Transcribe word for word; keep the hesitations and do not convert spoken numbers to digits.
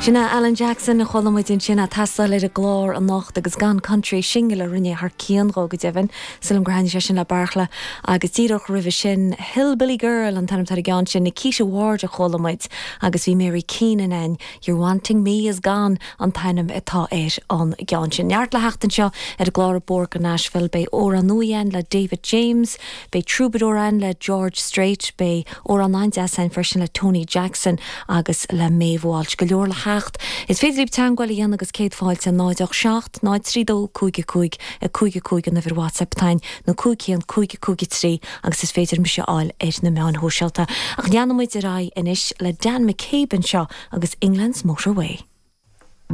Sin é Alan Jackson a chuala muid ansin ag taisteal ar an gclár anocht agus Gone Country single a rinne thar cionn dó go deimhin sílim gur thaitnigh sé sin le Beartla agus díreach roimhe sin Hillbilly Girl an t-ainm ar an gceann sin Nikita Ward a chuala muid agus bhí Mary Keenan ann You're Wanting Me Is Gone an t-ainm atá ar an gceann sin. Neart le theacht anseo ar an gclár Bóthar go Nashville beidh amhrán nua le David James, beidh Troubadour ann le George Strait, beidh amhrán an-deas freisin le Tony Jackson agus le Maeve Walsh go leor le theacht. Is féidir libh teagmháil a dhéanamh agus céad fáilte náid seacht ná trí dó cúig cúig a cúig cúig an uimhir WhatsApp atá ann nó cúig haon cúig cúig trí agus is féidir mise a fháil ar na meáin shóisialta. Ach leanfaimid ar aghaidh anois le Dan McCabe anseo agus England's Motorway.